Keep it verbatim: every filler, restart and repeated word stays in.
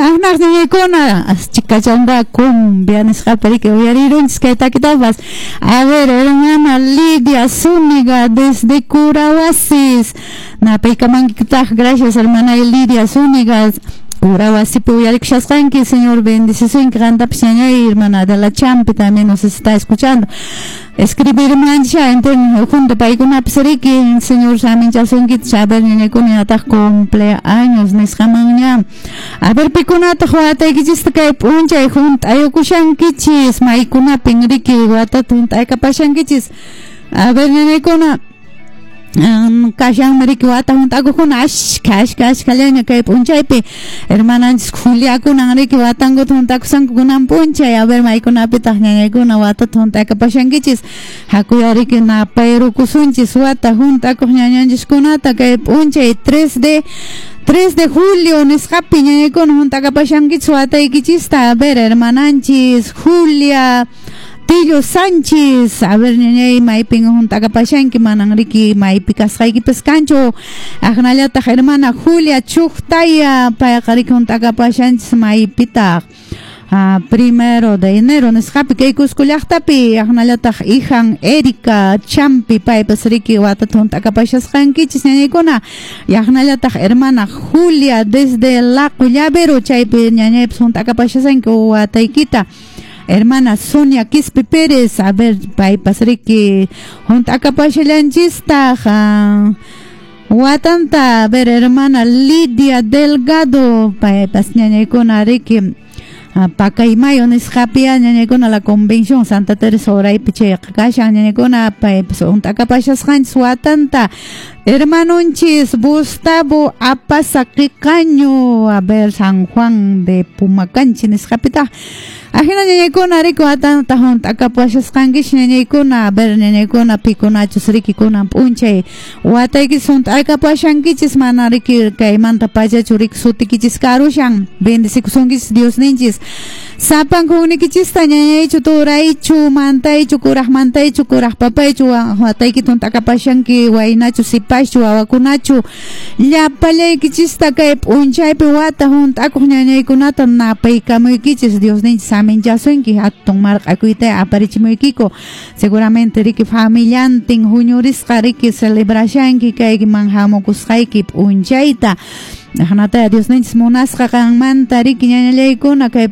Aqnaq ñañaykuna chikachanga cumbia nisqapi riki uyarirunchis kay takitapas. A ver, hermana Lidia Zúñiga desde Curahuasis. Napaykamankitaj, gracias, hermana Lidia Zúñiga. Curahuasipi uyarikushasqanki, Señor bendecisunki qantapas ñañay, hermana de la Champi también nos está escuchando. Escribirmancha junto paykunapas riki, Señor saminchasunki. A ver, ñañaykuna, ñataq cumpleaños nisqamanña. A ver, pikunataq wataykichista kay p'unchay hunt'ayukushankichis, maykunapin riki watata hunt'aykapashankichis? A ver, ñañaykuna, kashanmi riki wata hunt'akuqkuna ashka ashka ashkallaña kay p'unchaypi. Hermananchis Juliakunan riki watankuta hunt'akusanku kunan p'unchay. A ver, maykunapitaq ñañaykuna watata hunt'akapashankichis? Hakuya riki napayrukusunchis wata hunt'akuq ñañanchiskunata kay p'unchay tres de tres de julio nisqapi ñañaykuna hunt'akapashankichis wataykichista. A ver, hermananchis Julia Tillo Sánchez, a ver, ñañay, maypin hunt'akapashanki? Manan riki maypi kasqaykipas kanchu. Aqnallataq hermana Julia Chuqtaya, payqa riki hunt'akapashanchis maypitaq? Ah, primero de enero nisqapi kay Cusco llaqtapi. Aqnallataq hijan Erika Champi, paypas riki watata hunt'akapashasqankichis ñañaykuna. Aqnallataq hermana Julia desde Laqo Llavero, chaypi ñañaypas hunt'akapashasanki wataykita. Hermana Sonia Quispe Pérez, a ver, paypas riki hunt'akapashallanchistaq watanta. A ver, hermana Lidia Delgado, paypas ñañaykuna riki Pacaymayo nisqapi ñañaykuna, la Convención Santa Teresa uraypi chayqa kashan ñañaykuna, paypas hunt'akapashasqanchis watanta. Hermanonchis Gustavo Apaza Qiqaño, a ver, San Juan de Pumacanchi nisqapitaq. Ajina ñañaykuna riki watanta hunt'akapashasqankichis ñañaykuna. A ver, ñañaykuna, pikunachus riki kunan p'unchay wataykichis hunt'akapashankichis, mana riki kaymanta pachachu riki sutikichis karushan. Bendecikusunkichis Diosninchis sapankuqnikichista, ñañaychu, turaychu, mantaychu, kuraq mantaychu, kuraq papaychu, wataykita hunt'akapashanki, waynachu, sipaschu, wawakunachu, llapallaykichista kay p'unchaypi wata hunt'akuq ñañaykunata napaykamuykichis. Diosninchis saminchasunki, hatun marq'akuyta aparichimuykiku. Seguramente riki familiantin huñurisqa riki celebrashanki kayman hamukusqayki p'unchayta. Aqnataya Diosninchis munasqa qanmanta riki ñañallaykuna kay